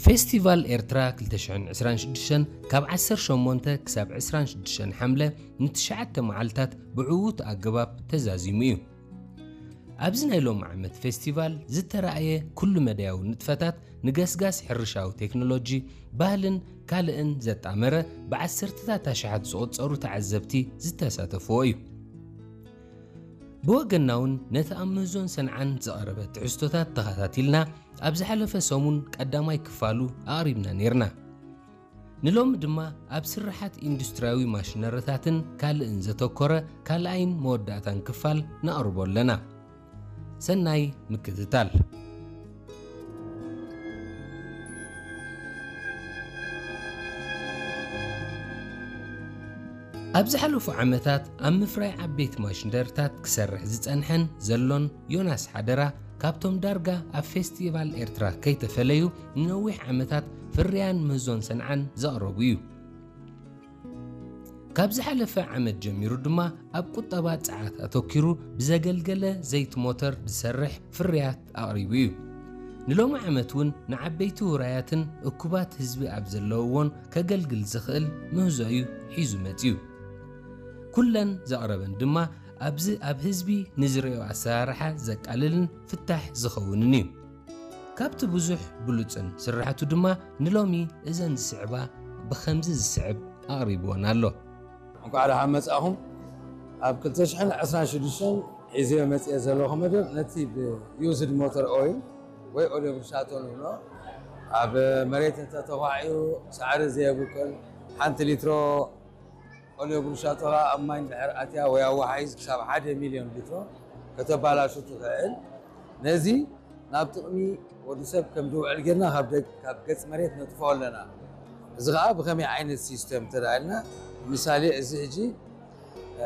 ፌስቲቫል ኤርትራ ክልተ ሽሕን ዕስራን ሽዱሽተን ካብ ዓሰርተ ሸሞንተ ክሳብ ዕስራን ሽዱሽተን ሓምለ ንትሽዓተ መዓልታት ብዕዉት ኣገባብ ተዛዚሙ እዩ። ኣብዚ ናይ ሎሚ ዓመት ፌስቲቫል ዝተራእየ ኩሉ መዳያዊ ንጥፈታት ንገስጋስ ሕርሻዊ ቴክኖሎጂ፣ ባህልን ካልእን ዘጣመረ ብዓሰርተታት ኣሽሓት ዝቑጸሩ ተዓዘብቲ ዝተሳተፍዎ እዩ። ብወገንና እውን ነቲ ኣብ ምህዞን ሰንዓን ዝቐረበ ትሕዝቶታት ተኸታቲልና ኣብ ዝሓለፈ ሰሙን ቀዳማይ ክፋሉ ኣቕሪብና ነይርና። ንሎሚ ድማ ኣብ ስርሓት ኢንዱስትርያዊ ማሽነሪታትን ካልእን ዘተኮረ ካልኣይን መወዳእታን ክፋል ነቕርቦ ኣለና። ሰናይ ምክትታል። ኣብ ዝሓለፉ ዓመታት ኣብ ምፍራይ ዓበይቲ ማሽነሪታት ክሰርሕ ዝጸንሐን ዘሎን ዮናስ ሓደራ፣ ካብቶም ዳርጋ ኣብ ፌስቲቫል ኤርትራ ከይተፈለዩ ንነዊሕ ዓመታት ፍርያን ምህዞን ሰንዓን ዘቕረቡ እዩ። ካብ ዝሓለፈ ዓመት ጀሚሩ ድማ ኣብ ቁጠባ ጸዓት ኣተኪሩ ብዘገልገለ ዘይቲ ሞተር ዝሰርሕ ፍርያት ኣቕሪቡ እዩ። ንሎሚ ዓመት እውን ንዓበይቲ ውራያትን እኩባት ህዝቢ ኣብ ዘለውዎን ከገልግል ዝኽእል ምህዞ እዩ ሒዙ መጺኡ። ኩለን ዘቕረበን ድማ ኣብዚ ኣብ ህዝቢ ንዝርእዮ ኣሰራርሓ ዘቃልልን ፍታሕ ዝኸውንን እዩ። ካብቲ ብዙሕ ብሉጽን ስራሕቱ ድማ ንሎሚ እዘን ዝስዕባ ብኸምዚ ዝስዕብ ኣቕሪብወን ኣሎ። እንኳዕ ደሓን መጻእኹም። ኣብ ክልተ ሽሕን ዕስራን ሽዱሽተን ሒዘዮ መጽየ ዘለኹ መደብ ነቲ ብዩዝድ ሞተር ኦይል ወይ ኦልዮ ብርሻቶ ንብሎ ኣብ መሬት እንተተኳዕዩ ሳዕሪ ዘየብቅል ሓንቲ ሊትሮ ኦልዮ ብሩሻቶ ኸኣ ኣብ ማይ እንድሕር ኣትያ ወይ ኣወሓይዝ ክሳብ ሓደ ሚልዮን ሊትሮ ከተባላሹ ትኽእል። ነዚ ናብ ጥቕሚ ወዲ ሰብ ከም ዝውዕል ጌርና ካብ ደግ-፣ ካብ ገጽ መሬት ነጥፍኦ ኣለና። እዚ ኸኣ ብኸመይ ዓይነት ሲስተም እንተ ደኣ ኢልና፣ ምሳሌ እዚ ሕጂ፣ እ፣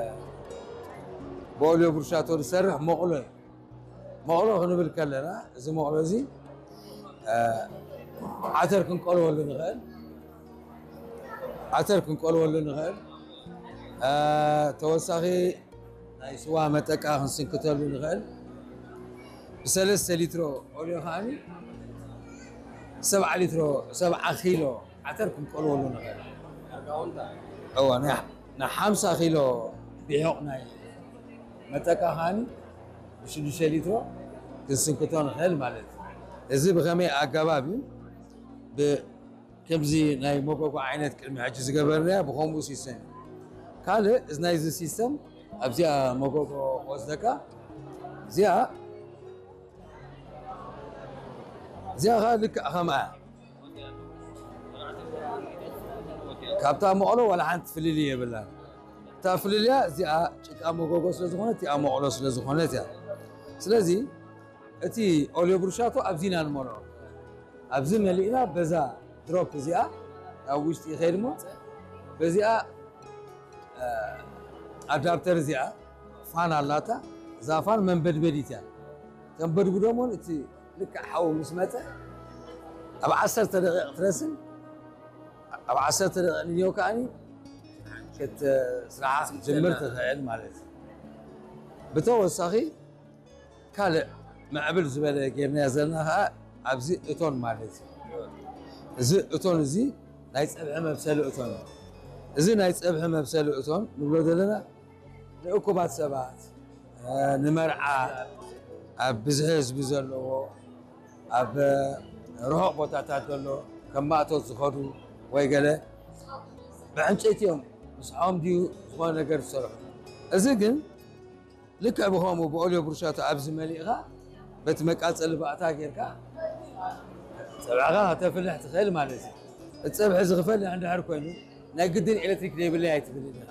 ብኦልዮ ብሩሻቶ ዝሰርሕ መቑሎ እዩ። መቑሎ ክንብል ከለና፣ እዚ መቑሎ እዚ፣ እ፣ ዓተር ክንቀልወሉ ንኽእል። ዓተር ክንቀልወሉ ንኽእል። እ፣ ተወሳኺ ናይ ስዋ መጠቃ ክንስንክተሉ ንኽእል። ብሰለስተ ሊትሮ ኦልዮ ከዓኒ ሰብዓ ሊትሮ፣ ሰብዓ ኪሎ ዓተር ክንቀልወሉ ንኽእል። እወ፣ ናይ፣ ናይ ሓምሳ ኪሎ ቢሑቕ ናይ መጠቃ ከዓኒ ብሽዱሽተ ሊትሮ ክንስንክቶ ንኽእል ማለት እዩ። እዚ ብኸመይ ኣገባብ እዩ? ብ-፣ ከምዚ ናይ መጎጎ ዓይነት ቅድሚ ሕጂ ዝገበርናዮ ብኸምኡ ሲስተም እዩ። ካልእ እዚ ናይዚ ሲስተም ኣብዚኣ መጎጎ ክወስደካ፣ እዚኣ፣ እዚኣ ኸኣ ልክዕ ከምኣ እያ። ካብታ መቕሎ ዋላ ሓንቲ ፍልልይ የብላን። እታ ፍልልያ እዚኣ ጭቃ መጎጎ ስለ ዝኾነት፣ እቲኣ መቕሎ ስለ ዝኾነት እያ። ስለዚ እቲ ኦልዮ ብሩሻቶ ኣብዚ ኢና ንመልኦ። ኣብዚ መሊእና በዛ ድሮፕ እዚኣ ናብ ውሽጢ ይኸይድ እሞ በዚኣ፣ እ፣ ኣዳፕተር እዚኣ ፋን ኣላታ። እዛ ፋን መንበድበዲት እያ። ተንበድብዶ እሞ እቲ ልክዕ ሓዊ ምስ መጸ ኣብ ዓሰርተ ደቂቕ ትረስን ኣብ ዓሰርተ ደቂቕ ንዮ ከኣኒ ክት-፣ ስራሓ ክትጅምር ትኽእል ማለት እዩ። ብተወሳኺ ካልእ ምዕብል ዝበለ ጌርናዮ ዘለና ኸዓ ኣብዚ እቶን ማለት እዩ። እዚ እቶን እዚ ናይ ጸብሒ መብሰሊ እቶን እዩ። እዚ ናይ ጸብሒ መብሰሊ እቶን ንብሎ ዘለና ንእኩባት ሰባት፣ እ፣ ንመርዓ፣ ኣብ ብዝሒ ህዝቢ ዘለዎ፣ ኣብ ርሑቕ ቦታታት ዘሎ፣ ከም ማእቶት ዝኸዱ ወይ ገለ ብዕንጨይቲ እዮም ምስሖም ድዩ ዝኾነ ነገር ዝሰርሑ። እዚ ግን ልክዕ ብኸምኡ ብኦልዮ ብሩሻቶ ኣብዚ መሊእኻ በቲ መቃጸሊ ባእታ ጌርካ ጸብዕኻ ከተፍልሕ ትኽእል ማለት እዩ። እቲ ጸብሒ እዚ ክፈልሕ እንድሕር ኮይኑ ናይ ግድን ኤሌክትሪክ ዘይብለይ ኣይትብልን ኢኻ።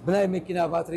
ብናይ መኪና ባትሪ